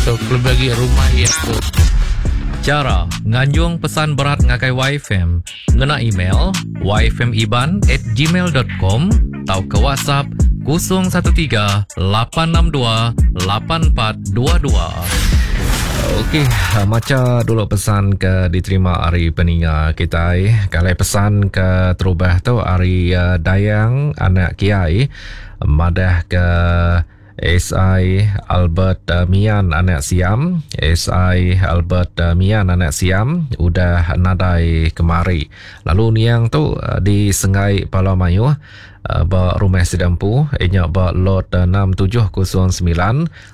tu kelebih agi rumah iya tu. Chara nganjung pesan berat ngagai YFM ngena email yfmiban at gmail dot com tauka WhatsApp 013 862 8422. Okey, macha dulu pesan ke diterima ari peninga kitai. Kalai pesan ke terubah tu ari eh, Dayang anak Kiai madah ke SI Albert Mian anak Siam, SI Albert Mian anak Siam udah nadai kemari. Lalu niang tu di Senggai Pala Mayuh ba rumah sida empu iya nya ba lot 6709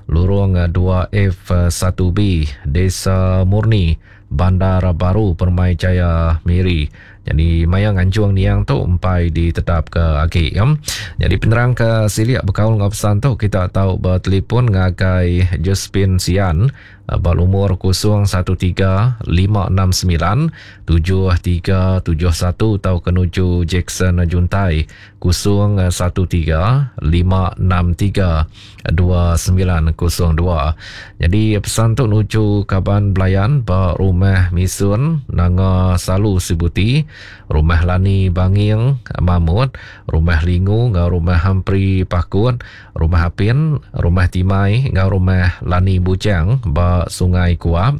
lurung 2F1B Desa Murni Bandar Baru Permai Jaya Miri. Nyadi maya nganjung niang tu empai ditetapka agi. Nyadi penerang ke silik bekaul enggau pesan tu kita tau betelefon ngagai Josephine Sian ba lumur 013 569 7371 tauka nuju Jackson Juntai 013 563 2902. Nyadi pesan tu nuju kaban belayan ba Rumah Misun Nanga Salu Sibuti, Rumah Lani Banging Mamut, Rumah Lingu enggau Rumah Humphrey Pakut, Rumah Apin, Rumah Timai enggau Rumah Lani Bujang ba Sungai Kuap,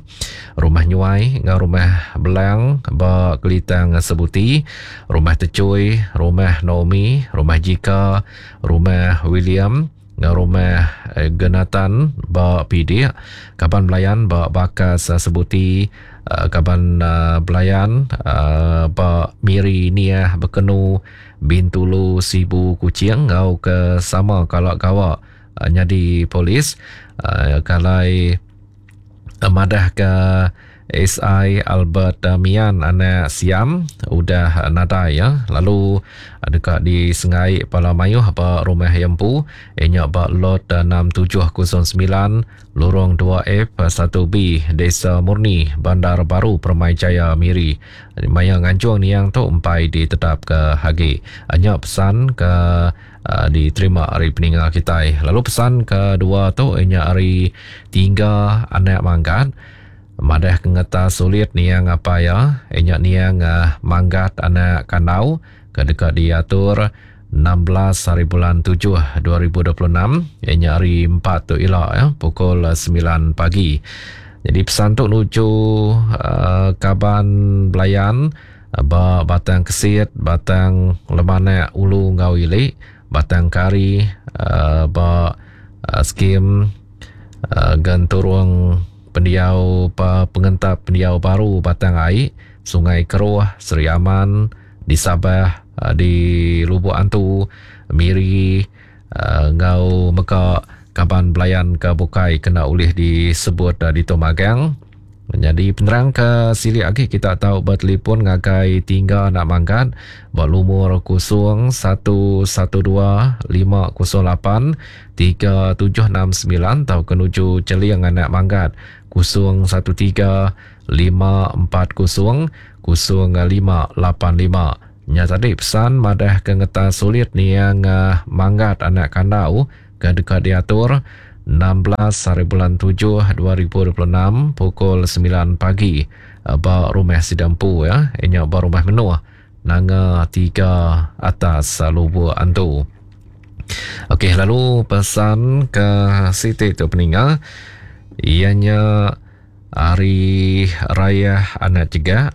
Rumah Nyuai enggau Rumah Belang ba Kelitang Sebuti, Rumah Techui, Rumah Naomi, Rumah Jika, Rumah William enggau Rumah Genatan ba Pidik, kaban belayan ba Bakas Sebuti, kaban belayan ba Miri Niah Bekenu, Bintulu Sibu Kuching enggau ke sama kala gawa nyadi polis kalai madahka SI Albert Mian anak Siam udah nadai ya lalu deka disenggai bala mayuh ba rumah iya empu iya nya ba lot 6709 Lorong 2F 1B Desa Murni Bandar Baru Permai Jaya Miri. Maya nganjung niang tu empai ditetapka agi. Nya pesan ke diterima ari peninga kitai. Lalu pesan kedua tu iya nya ari Tingga anak Manggat madah ke ngetas sulit niang apai iya iya nya niang Manggat anak Kandau ke deka diatur 16 hari bulan 7 2026 iya nya hari empat tu ila ya pukul 9 pagi. Jadi pesan tu nuju uh, kaban belayan Ba Batang Kesit, Batang Lemanak Ulu enggau Ili, Batang Kari ba Skim Genturung Pendiau Pengentap Pendiau Baru Batang Ai, Sungai Keruh, Sri Aman, di Sabah, di Lubok Antu, Miri enggau mega kaban belayan ke bukai kena ulih disebut ditu magang. Nyadi penerang ke silik agi kita tau betelefon ngagai Tingga Anak Manggat ba lumur 011 2 508 3769 tauka nuju Cheling Anak Manggat 013 540 0585. Nya tadi pesan madah ke ngetas sulit niang Manggat Anak Kandau ke deka diatur 16 hari bulan 7 2026 pukul 9 pagi ba rumah sida empu ya nya ba rumah Menuh Nanga Tiga Atas Lubuk Antu. Okey lalu pesan ke siti tu peninga iya nya hari raya anak cegak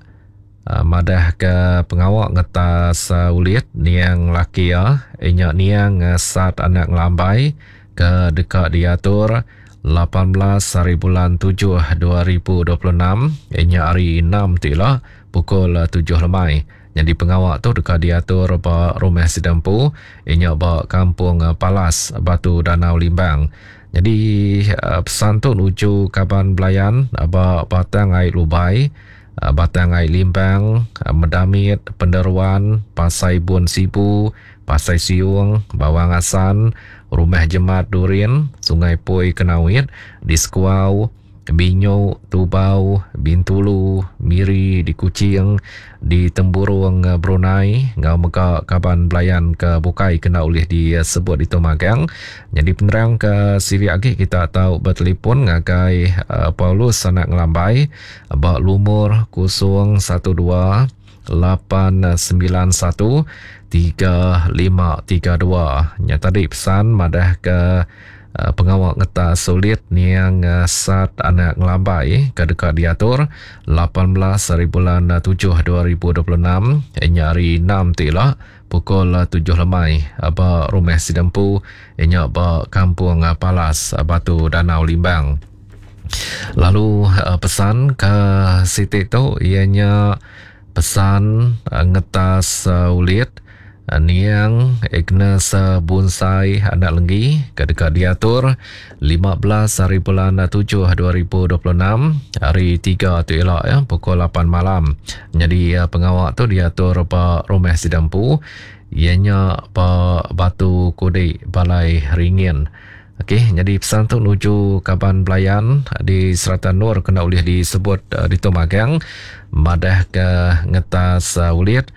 Madahka pengawa ngetas ulit niang laki iya, iya nya niang Sat Anak Ngelambai ke deka diatur 18 hari bulan 7 2026, iya nya hari Enam ti ila pukul 7 lemai. Nyadi pengawa tu deka diatur ba rumah sida empu, iya nya ba Kampung Palas, Batu Danau Limbang. Nyadi pesan tu nuju kaban belayan ba Batang Ai Lubai, Batang Ai Limbang, Medamit, Penderuan, Pasai Bun Sibu, Pasai Siung, Bawang Assan, Rumah Jemat Durin, Sungai Poi Kenawit, di Sekuau, Binyo, Tubau, Bintulu, Miri di Kuching, di Temburong Brunei enggau mega kaban belayan ke bukai kena ulih disebut ditu magang. Nyadi penerang ke silik agi kita tau betelefon ngagai Paulus Anak Ngelambai ba lumur 012 891 3532. Nya tadi pesan madah ke pengawa ngetas sulit niang Sat Anak Ngelambai ke deka diatur 18 hari bulan 7 2026 nya hari 6 ti ila pukul 7 lemai ba Rumah Sidempu nya ba Kampung Palas Batu Danau Limbang. Lalu pesan ke siti tu iya nya pesan ngetas ulit niang Agnes Bunsai Anak Lenggi ke deka diatur 15 hari bulan 7 2026 hari 3 tu ila ya pukul 8 malam. Nyadi pengawa tu diatur ba rumah sida empu iya nya ba Batu Kudi Balai Ringin. Okey, nyadi pesan tu nuju kaban belayan di serata endur kena ulih disebut ditu magang madah ke ngetas ulit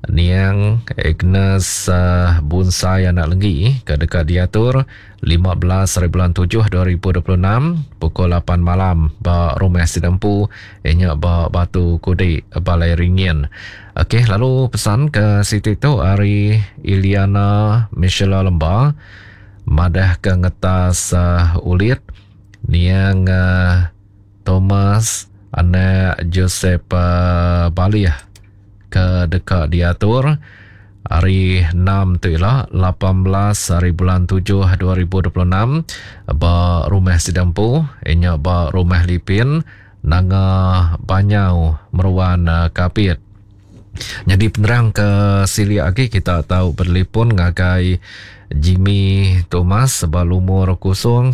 niang Agnes Bunsai Anak Lenggi ke deka diatur 15 hari bulan 7 2026 pukul 8 malam ba Rumah Sidempu inya ba Batu Kudi Balai Ringin. Okey, lalu pesan ke siti tu ari Iliana Michela Lemba Madah ke ngetas ulit niang Thomas anak Joseph Balih ke deka diatur hari enam tu ila 18 hari bulan 7 2026 ba Rumah Sida Empu inya ba Rumah Lipin Nanga Banyau Meruan Kapit. Nyadi penerang ke silik agi kita tau betelefon ngagai Jimmy Thomas ba lumur 013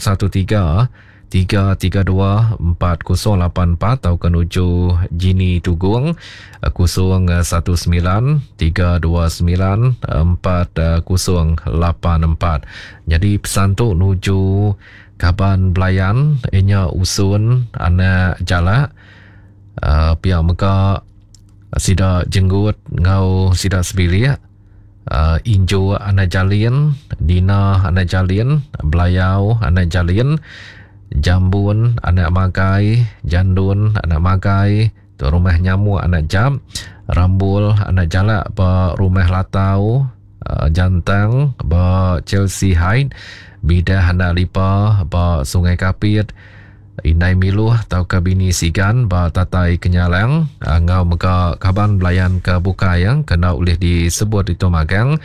332 4084 tauka nuju Jini Tugong 019 329 4084. Nyadi pesan tu nuju kaban belayan inya Usun anak Jalak pia mega Sida jenggut enggau sida sebilik, Inju anak Jalin, Dina anak Jalin, Belayau anak Jalin, Jambun anak Magai, Jandun anak Magai, tu Rumah Nyamuk anak Jap, Rambul anak Jalak ba Rumah Latau, Jantang ba Chelsea Height, Bidah anak Lipa ba Sungai Kapit, Indai Miluh tauka bini Sigan ba Tatai Kenyalang enggau mega kaban belayan ke bukai ke enda ulih disebut ditu magang.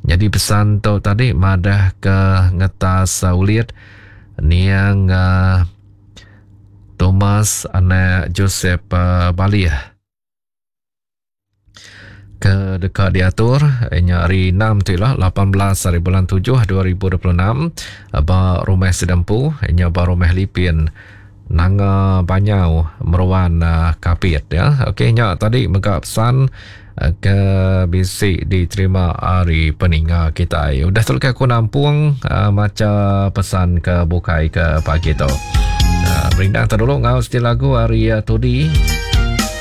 Nyadi pesan tu tadi madah ke ngetas ulit niang Thomas anak Joseph Balih. Ke deka diatur nya hari 6 tu ila 18 hari bulan 7 2026 ba Rumah Sidempu nya ba Rumah Lipin Nanga Banyau Meruan Kapit ya. Okey nya tadi mega pesan ke bisi diterima ari peninga kitai. Udah tu aku nampung macha pesan ke bukai ke pagi tu. Berindang dulu ngau siti lagu ari Tudi.